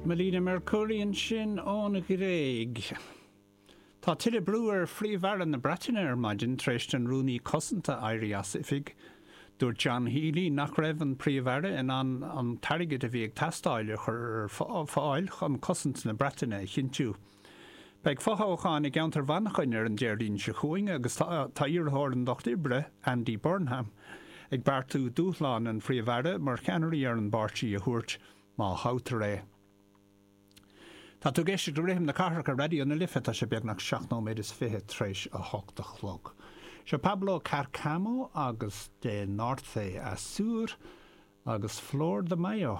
Melina Mercouri ansin ón Ghréig. Tá tuilleadh brú ar Phríomh-Aire na Breataine ar maidin tar éis don Rúnaí Cosanta éirí as oifig. Dúirt John Healey nach raibh an Príomh-Aire in ann an t-airgead a bhí ag teastáil a chur ar fáil chun cosaint na Breataine a chinntiú. Beidh fothoghchán i gceantar Mhanchain ar an Déardaoin seo chugainn agus tá iarrthóir an Lucht Oibre, Andy Burnham, ag beartú dúshlán an Phríomh-Aire mar cheannairí ar an bpáirtí a thabhairt má thoghtar é. Tá tú ag éisteacht le Rithim na Cathrach ar Raidió na Life, tá sé beagnach 7 nóiméad is 20 tar éis a 8 a chlog. Seo Pablo Cárcamo agus De Norte a Sur agus Flor de Mayo.